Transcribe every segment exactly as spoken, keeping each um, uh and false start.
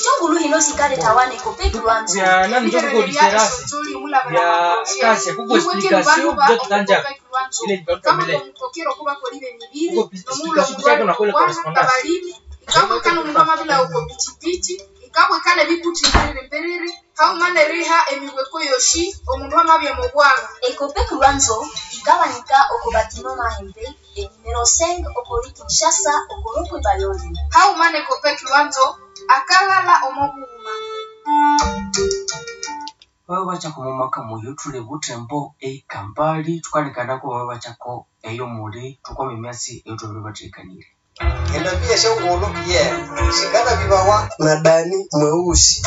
Eshongulu hino sikaletawa n'Ecopec Lwanzo. Vya nani njo kuko diferanse vya kasia kuko explication vyo tutanja ile ni kuko explication kuchako na kule correspondance ikabwekana omundu amabila uko pichipichi ikabwekana ebikuthi mbiriri mbiriri haumana eriha emibweko yoshi omundu amabya mubwaga. Ecopec Lwanzo ikabanika oko batiment Mahembe e numero cinq okori Kinshasa okoropwe Bayoli. Haumana Ecopec Lwanzo akalala omobughuma. Baba bachako mumaka muyo thuli buthembo eikambali thukalikanaku baba bachako eyo muli thukwama emyatsi eyithwabere bathekanire. Endambi yeshongolo ye shikana bibawa na Dani Mweusi.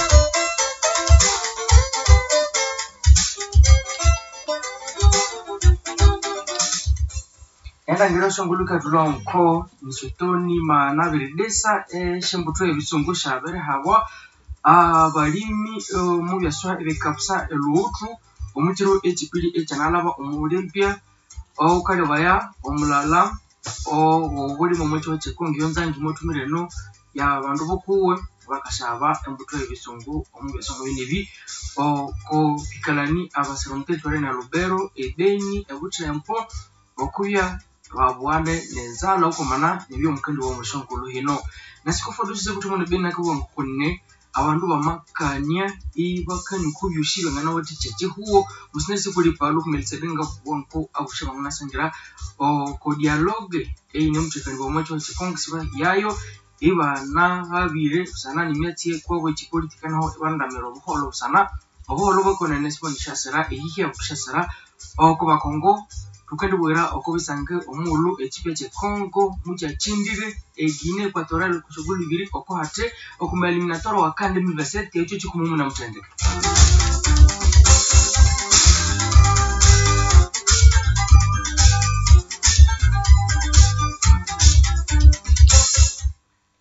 Endangiro eshongolo ikathulha nko misotoni maghana abiridisa esyombuthu ebisungu syabirihabwa abalimi omubyaswa ebikapusa elhughuthu omukiro ekyipili ekyanalhaba omu Olympia owukalebaya omulala owobulime omwa kyihugho kye Congo eyonzangi mwathumire eno yabandu bukuwe bakasyaba embuthu eyebisungu omubyaswa ngebinebi oko bikalani abasira omu territory ne Lubero, e Beni, e Buthembo okubya babughane nenzalha okwamana nebyomukendi womusyongulhu hino. Nasikofu dioceses ebuthembo ne Beni akabugha ngokune abandu bamakania ibakania oko byosi byanganawathikya ekyihugho musina sikulipalu Melikisedeki ngabugha nko abosi banganasangira oko dialogue eyinemuthekanibwa omwa kyihugho kye Congo sibahiyayo ibanahabire busana nemyatsi eyikwabo ekyipolitika naho ibanadamira obuholho busana obuholho bwekonene sibwendisyasira eyihya bukisyasira oko bakongo. Thukendibwira oko bisange omughulhu ekyipya kye Congo mukyakyindire e Guinea Equatorial kusogolho ibiri oko hathi oku ma eliminatório wa CAN dois mil vinte e sete ekyo kikumi munamuthendeka.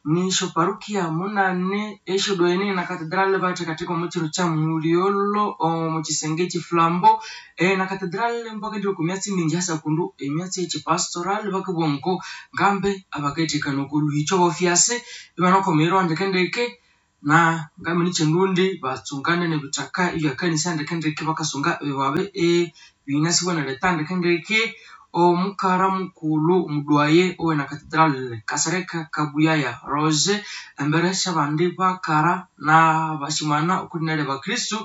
Nisyo parukia munane esyodoene na cathedral bathekatheka omu kiro kya mulyolho omu kisenge ekyiflambo na cathedral mbakendibya oko myatsi mingi hasa kundu emyatsi eyekyipastoral bakabugha nko ngambe abakayithekana oko lhuhikyo bofyasi ibanakomererwa ndekendeke na ngamene kyendundi batsungane nebithaka ebyakanisa ndekendeke bakasunga ebibabi ebinasibwa neleta ndekendeke. Omukara mukulhu omudwaye owena cathedral Kasereka Kabuyaya Roger embere syabandi bakara nabasyimana okwina lya bakristu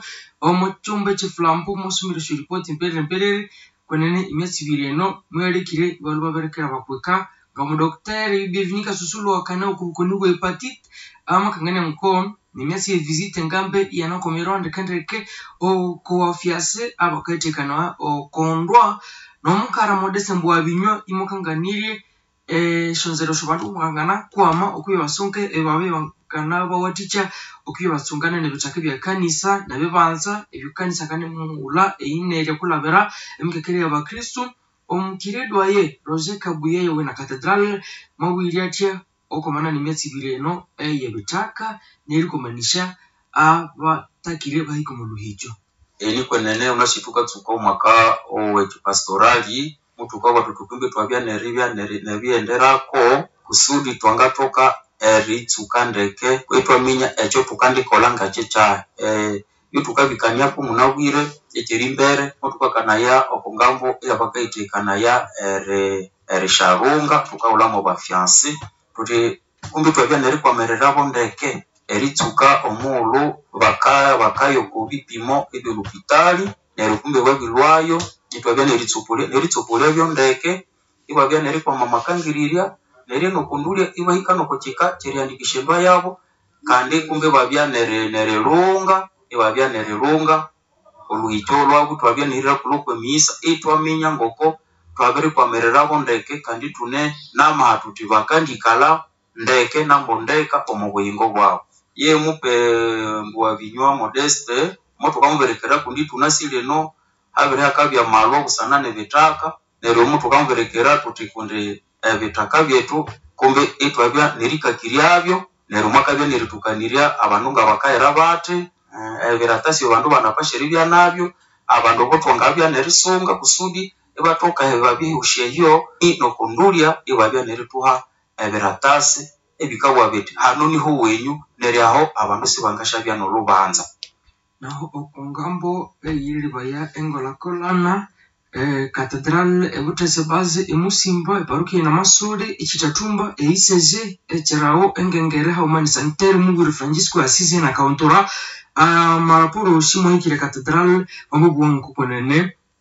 omu kyumba ekyiflambo mwasomire esyoripoti mperere mperere kwenene emyatsi ibiri eno muyalekire ibalhwa babirekera bakweka ngomudokiteri Bienvenu Kasusulu wakane okubukoni bwe hepatite amakangania nko nemyatsi ye visite ngambe iyanakomererwa ndekendeke okowafyasi abakayithekana okondwa nomukara Modeste Mbuwabinywa imukanganirye esyonzera syabandu bangana kwama okubya basunge ebibabi banganabawathikya okubya batsungane nebithaka ebyakanisa nebibanza ebyokanisa kanimughulha eyinerya kulabira emikekere yabakristu. Omukiredwaye Roger Kabuye wena cathedral mwabwire athya okwamana nemyatsi ibiri eno eyebithaka nerikomanisya abatakire bahika omu luhikyo. Eni kwenene wunasi thukatsuka omwaka owekyipastorali muthukabugha thuthi kumbi ithwabya neribya nerighenderako kusudi thwangathoka eritsuka ndeke ithwaminya ekyothukandikolha ngakyi kyahi. Ebyathukabikaniako munabwire ekyerimbere muthukakanaya okongambo eyabakayithekanaya eri erisyalhunga thukahulha mwabafyansi thuthi kumbi ithwabya nerikwamirirabo ndeke eritsuka omughulhu baka bakaya oko bipimo ebyolhupitali neryo kumbi babilhwayo ithwabya neritsopolya neritsopolyabyo ndeke ibabya nerikwama amakangirirya neryo nokondulya ibahika nokukyika kyerihandikisya endwa yabo kandi kumbi ibabya neri nerilhunga ibabya nerilhunga olhuhikyo lhwabu ithwabya nerihirakulho kwemighisa ithwaminya ngoko thwabirikwamirirabo ndeke kandi ithune namaha thuthi bakandikalha ndeke nambondeka omu buyingo bwabu. Ye mupe Mbuwabinywa Modeste muthukamubirikira kundi ithunasi lino habirihakabya amalhwa busana nebithaka neryo muthukamubirikira thuthi kundi ebithaka byethu kumbi ithwabya nerikakiryabyo neryo mwakabya nerithukanirya abandu ngabakayira bathi ebiratasi abandu banapasha eribya nabyo abandu abo thwangabya nerisunga kusudi ibathoka eribabihusya eyo nokondulya ibabya nerithuha ebiratasi ebikabugha bithi hano niho wenyu Neryo aho abandu sibangasyabya nolhubanza. Naho okungambo eyilibaya engulhakulhana eh, Catedral ebuthese base emusimba eparukia namasule ekyitathumba eiseze ekyirawo engengere haghuma ni Sanctaire mubwire Francisco Assis na kauntura amaraporo osi mwahikire Catedral wamabugha ngokwenene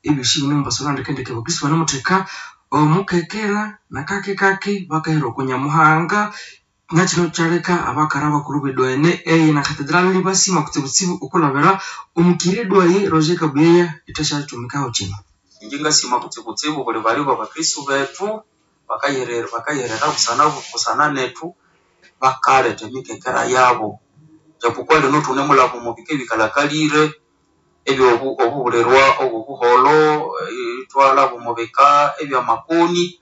ebyosi bino mubasaba ndekendeke abakristo banamutheka omukekera nakake kake bakahera oko Nyamuhanga nakino kyaleka abakara abakuru b'edwaene eye na Catedral basima kutsibutsibu okulabira omukiri edwaye Roger Kabuyeya ithasyakyumikaho kino. Inje ngasima kutsibutsibu buli bali bwabakristo bethu bakayirira bakayirira busana busana nethu bakaletha emikekera yabo japokuwa lino thunemulhaba omu bika ebikalhakalire ebyobu obubulirwa obwobuholho ithwalhaba omu bika ebyamakoni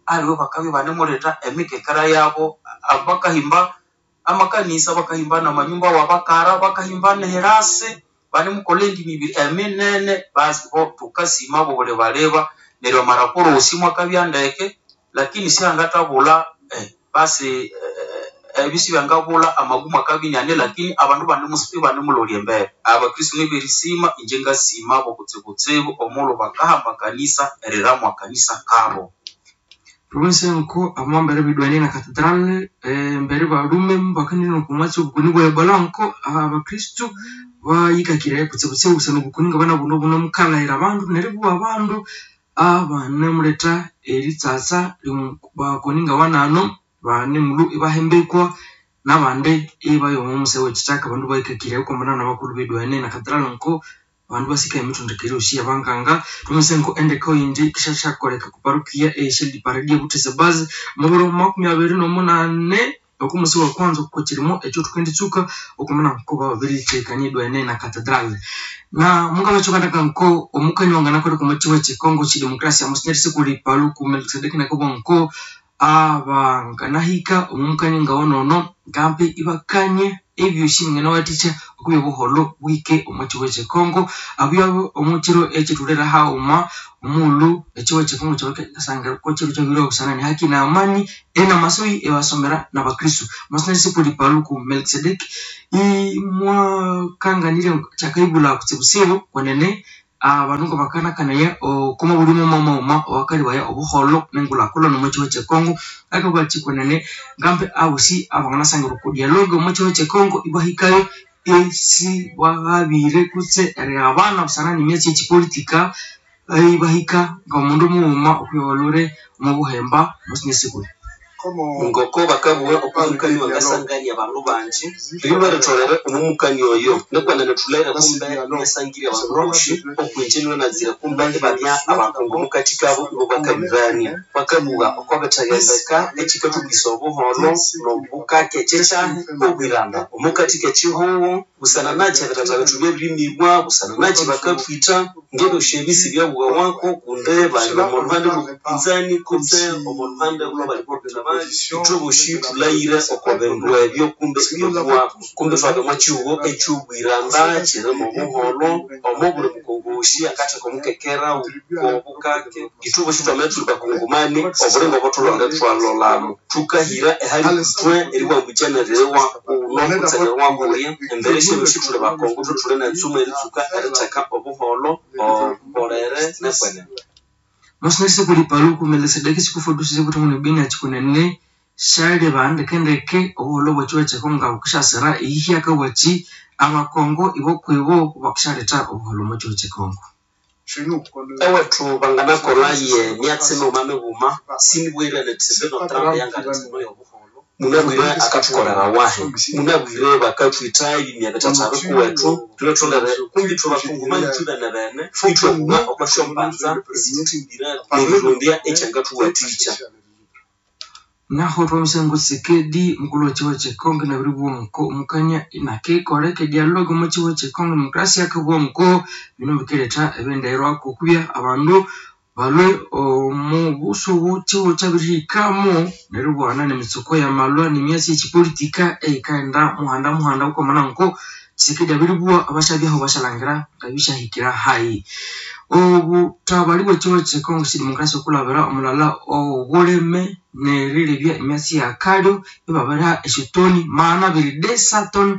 aliwe bakabya ibanemuletha emikekera yabo bakahimba amakanisa bakahimba namanyumba wabakara bakahimba nehirasi banemukolha endi mibiri eminene basi bo thukasima bobuli baleba neryo amaraporo wosi mwakabya ndeke lakini syangathabulha eh, basi eh, ebyo sibyangabulha amagumu akabya iniane lakini abandu ibanemulolya embere abakristo niberisima inje ngasima bo kutsibutsibu omulhu bakahamba kanisa eriramwa kanisa kabo. Province nko amambere bidwane na Catedral embere balume bakanire okumwatsi obukuni bwa Ebola nko abakristo bayikakire kutsibutsibu busana obukuni nga bana buno buno mukalahira abandu neribugha abandu abanemuletha eritsatsa bakoni nga banano banemulhu ibahembekwa nabandi ibayowa omuse wekithaka abandu bayikakire okwambana nabakulhu b'edwane na Catedral nko abandu basika emithondekere yosi yabanganga tumisenko endeko yindi kishashakoleka ku parukia eyeshedi paradia buthese base mubiro makumi abiri nomunane okumusi wa kwanza okukirimo ekyo thukenditsuka okumana nko babiritekania edwane na Catedral na mungabachokandaka nko omukani wanganakoleka omu kiwa kyekongo kidemokrasia monsignor Sikuli Paluku Melkisedeki nakobwa nko abanganahika omumukani ngawonono ngambi ibakanye ebyosi binganawathikya okubya obuholho bwike omu kiwa kyekongo abyabo omu kiro ekyithulira haghuma omughulhu ekiwa kyekongo kyabakasangira kokiro kyabiriwa busana ni haki na amani enamasoyi ebasomera nabakristo monsignor Sikuli Paluku Melkisedeki imwakanganirya kyakaibulha kutsibutsibu kwenene abandu nga bakanakanaya okoma buli mumamauma owakalibaya obuholho nengulhakulhana omu kiwa kyekongo akabugha kwenene ngambi abosi abanganasangira oku dialogue omu kiwa kyekongo ibahikayo esi bwaghabire kutse erighabana busana nemyatsi yekipolitika ibahika ngomundu mughuma okwibalure omu buhemba monsignor Sikuli. Ngoko bakabugha okumukani wangasangania abandu bangi lilwe ritholere omumukani oyo nikwenene thulere kumbe inasangirya abandu bosi okwinje nibanazire kumbe ibabya abakungu mukati kabo ibo bakabibania bakabugha okwabithaghembeka ekikathukisa obuholho nobukake kyekyahi obwiranda omukati kekihugho busana nakyi ebithatha bethu byabirimibwa busana nakyi bakathwitha ngebyosi ebisi byabughawako kundi bali omo luhande lwobupinzani kutse omo luhande lwabali bobutha ithoboshi thulayire oko bindu ebyo kumbe ibyobuwako kumbe thwabya omwa kihugho ekyobwiranda kyirimu obuholho omo buli mukongoshi akatheka omukekera wobukake ithoboshi twamabya thuli bakongomani obulingo obothulonga thwalolamo thukahira ehali ithwe eriwambukya neririwa kuno kutse neririwa kuya embere syebyosi thuli bakongo thuthuli netsumu eritsuka eritheka obuholho obolere nekwenene. Monsignor Sikuli Paluku Melkisedeki sikufundisize kuti munu bini achikunene shali bandekendeke obuholho bwekiwa kyekongo nga bukusyasira eyihyaka bwaki abakongo ibokwibo bakusyaletha obuholho omu kiwa kyekongo. Ewethu banganakolha ye myatsi mighuma mighuma sinibwire nithi mbino Trump yangaletha eno yobuholho munabwire akathukolera wahi munabwire bakathwitha ebimya bithatha bikuwethu thulhetholere kumbi ithwe bakongomani thwibene bene ithwabugha okwa syombanza esithuthimbire nerirondya ekyangathuwathikya. Naho twamisengo Tshisekedi mukulhu wekiwa kyekongo nabiribugha nko omukanya inakikoleka edialogue omu kiwa kyekongo demokrasia akabugha nko bino bikiretha ebinderwako okubya abandu balwe omu busubu kihugo kyabirihikamo neribwana nemitsuko yamalwa nemyatsi yekipolitika eyikaghenda muhanda muhanda okwamana nko Tshisekedi abiribugha abasyabyaho basyalangira ngabisyahikira hayi. Obutabali bw'ekigo ky'ekongo kidemokrasia okulabira omulala obulime nerilebya emyatsi yakalyo ibabiriha esyotoni magana abiri desatoni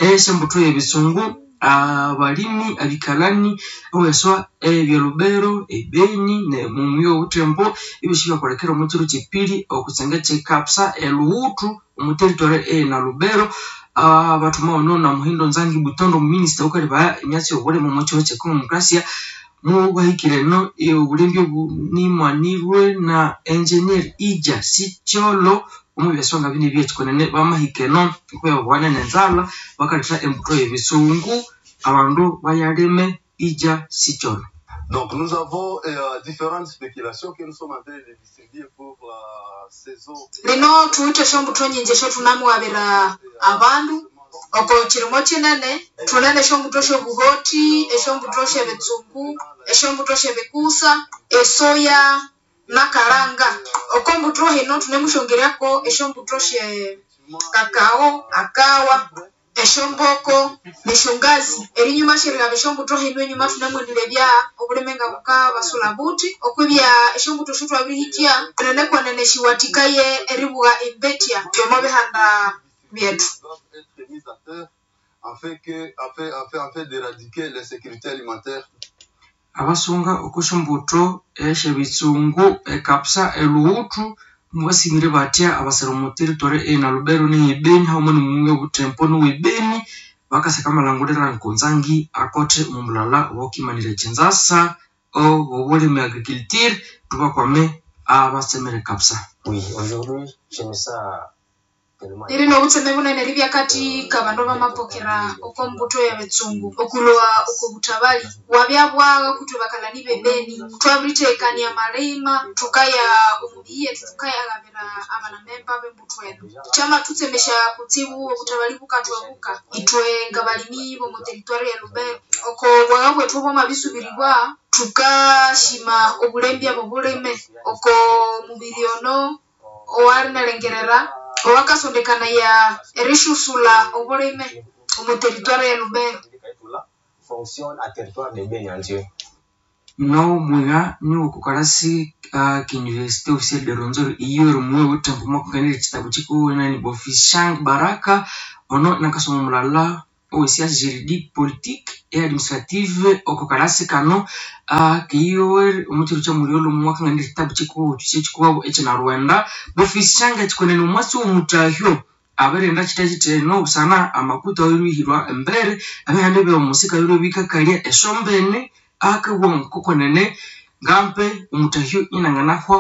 esyembutho y'ebisungu abalimi abikalani oweswa ebyelubero ebeni nemuyi obuthembo ebyosi byakolekera omu kiro kyepiri okusenge kyekapsa eluwuthu omu territory ena Lubero abathuma ono na Muhindo Nzangi Butondo omuminisita wukalebaya emyatsi y'obulimi omu kigo ky'ekongo demokrasia mubahikire eno obulembi obunimwanirwe na engineer Ija Sityolo omu byaswa nga bine ebyekikonene bamahika eno okuyababwana nenzalha bakaletha embutho y'ebisungu abandu bayalime Ija Sityolo. Donc nous avons euh, différentes spéculations que nous sommes en train de distribuer pour la saison. Lino thuwithe esyombutho nyingi esyotunamuwabira abandu oko kirimo kinene thunene esyombutho syobuhoti, esyombutho syebitsungu, esyombutho syebikusa, esoya nakalanga. Oko mbutho hino thunemusyongeryako esyombutho sye kakao, akawa, esyomboko nesyongazi. Erinyuma syerilhaba esyombutho hino enyuma thunemwendirebya obulime nga bukabasula buthi okwibya esyombutho syotwabirihikya kwenene kwenene siwathikaye eribugha embethya yomo bihanda byethu. Doivent être mises à terre afin que afin afin afin d'éradiquer l'insécurité alimentaire. Abasunga okw'esyombutho esyebitsungu ekapsa eluwuthu mubasimire batya abasira omu territory ena Lubero ney'ebeni haghuma n'omuyi obuthembo n'ow'ebeni bakasaka amalangulira nkonzangi akothe omu mulala owokimanira ekyinzasa obw'obulimi agriculture thubakwame abatsemire kapsa. Oui, aujourd'hui, j'aime ça tellement. Liri n'obutseme bunene eribya akathi kabandu abamapokera oko mbutho y'ebitsungu okulhwa oko butabali wabya bwagha okutwe bakalani b'ebeni thwabirithekania amalima thukaya omu miyi yethu thukayaghabira abanamemba b'embutho eno kyamathutsemesya kutsibu obutabali bukathwebuka ithwe ngabalimi b'omu territory ya Lubero oko bwagha bwethu bwamabisubiribwa thukashima obulembya b'obulime oko mubiri ono owalinalhengerera owakasondekanaya erisyusulha obulime omu territory ya Lubero. Fonctionne à territoire de Beni en Dieu. No mwiha niwokukalasi uh, ki-université officielle de Rwenzori iyo rimuwe buthembo mwakunganira ekitabu kikuwenani Bofishang Baraka ono nakasoma omulala ow'escience juridique politique et administrative oko kalasi kano uh, kiiwe omukiro kyamulyolho mwakanganira ekitabu kikuwu kyekikuwabo ekinarwenda Bofishang ekikonene omwasi w'omutahyo abirenda kitya kitheno busana amakuta awirihirwa embere abihanda ebyomusika biro bikakalya esyombene akabugha ngokukonene ngampe omutahyo inanganahwa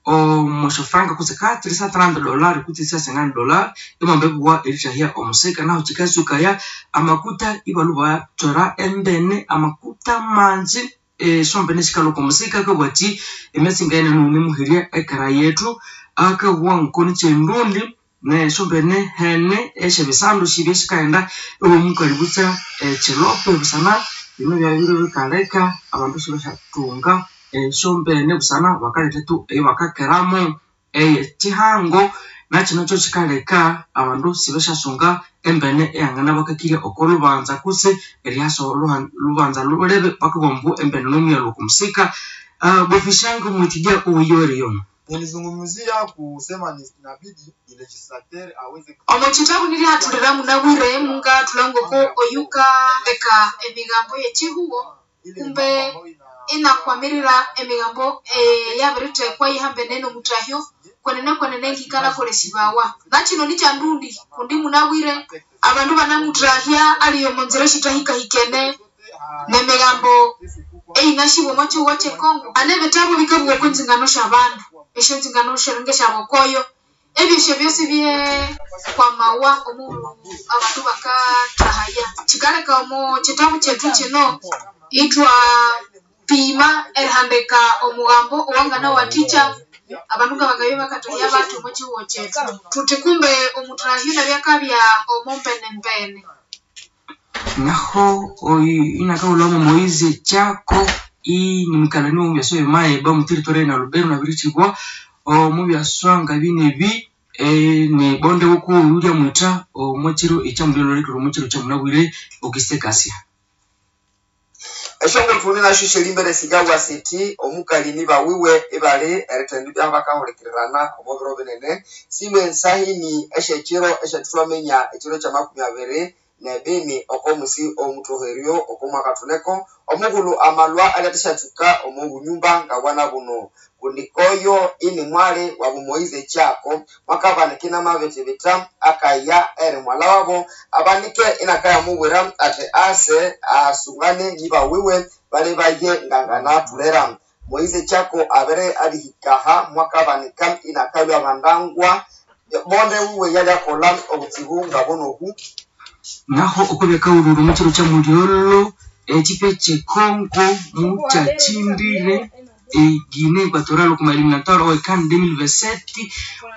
omusyofranka kutse kathirisa trente dollar kutse cinquante dollar imwamba ibugha erithahya omusika nahu kikasukaya amakuta ibalhwa ibathwera embene amakuta mangi esyombene sikalhwa okomusika akabugha athi emyatsi ngayinene munemuherya ekera yethu akabugha ngokoniky'endundi nesyombene hene esyebisandu sibye sikaghenda iwomukali butsa ekyilope busana bino byabire bikaleka abandu sibasyathunga esyombene busana bakaletha tu eyibakakeramu eyekihango nakino kyo kikaleka abandu sibasyasunga embene eyanganabakakirya oko lubanza kutse eryasa olubanza lulebe bakabugha ambu embene nomuyalhu okomusika. uh, Bofishango mwitidya owiyowereyonu Nilizungumzia kusema ni inabidi ni legislateur aweze Omo kitabu nirihathulira munabwire mungathulha ngoko oyukaleka emigambo y'ekihugo kumbe inakwamirira emigambo eyabirithekwa ihambene n'omutahyo kwenene kwenene ngikanakolesibawa nakino nikyandundi kundi munabwire abandu banamuthahya ali omo nzira esithahikahikene n'emigambo eyinasibwa omo kihugo ky'ekongo hane ebitabu bikabugha okwa nzingano syabandu esyonzingano syeringa esyabokoyo ebyosyo byosi byekwamawa omughulhu abandu bakathahaya kikaleka omo kitabu kyethu kino ithwa pima erihandika omugambo owanganawathikya abandu ngabangabya bakathahya bathi omo kihugo kyethu thuthi kumbe omuthahyo nabyakabya omo mbenembene. Naho oyu inakahulhamu Moise Chako inimukalani w'omubyaswa ebimaeba omu territory ena Lubero nabirithibwa omu byaswa nga binebi ne bonde wukuwu lyamwitha omu kiro ekyamulyolholekera omu kiro kyamunabwire Auguste Kasia. Eshongolo thune nasho syelimbere sigabwa siti omukali niba wiwe ibali erithendibya ibyaho bakahulikirirana omo biro binene. Silwe ensahini esyekiro esyathwaminya ekiro kyamakumi abiri nebini oko musi omuthoheryo oko mwaka thuneko omughulhu amalwa alyathashatsuka omo bunyumba ngabwana buno kundi koyo ini mwali wabu Moize Kyako mwakabanika inamabithibitha akaya eri mwala wabo abanike inakayamubwira ati ase asungane niba wiwe bali baye nganganathulera. Moize Kyako abere abihikaha mwakabanika inakalwa bandangwa bonde wiwe yalyakolha obutsibu ngabunoku. Naho okubya kaghulhulhu omukiro kya mulyolho ekipe kyekongo mukyakyindire e Guinea Equatorial okwa eliminatoire owe CAN dois mille vingt-sept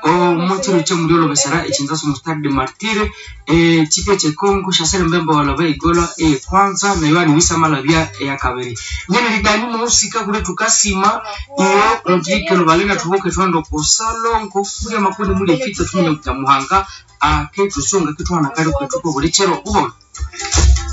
omukiro kya mulyolho besara ekinzasa omu Stade de Martyrs. Ekipe kyekongo syasira embemba walaba egola eyekwanza na Yohani Wissa amalabya eyakabiri. Nyene lidani muhusika kuli tukasima iyo omuthikelo balenga thubuke thwende oko salongo muli amakoni muli efita thuminya kuti Muhanga akethusunga akethuhana akali kwethu kobuli kiro. Buholho.